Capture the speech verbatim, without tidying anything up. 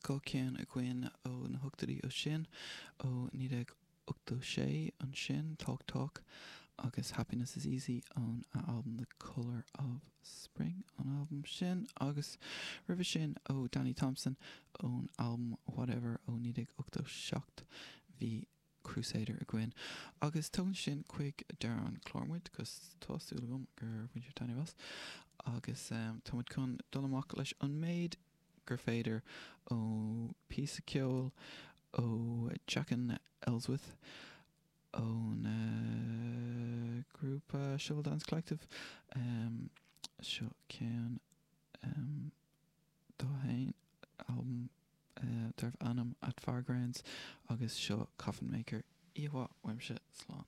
dhá cheann againn ó na hochtóidí ó sin ó naoi déag ochtó sé ansin Talk Talk agus Happiness is Easy ón a albam The Colour of Spring an albam sin agus roimhe sin ó Danny Thompson ón albam Whatever ó naoi déag ochtó seacht bhí Crusader againn. Agus tugann sin chuig deireadh an chlár muid agus tá súil agam gur bhain sibh taitneamh as agus um, táimid chun dul amach leis an méid gur féidir ó píosa ceoil ó Jacken Elswyth ón uh, grúpa Shovel Dance Collective um, seo ceann um, dá haon album uh, darbh ainm At Fairgrounds agus seo Coffin Maker Íomhá uaimse slán.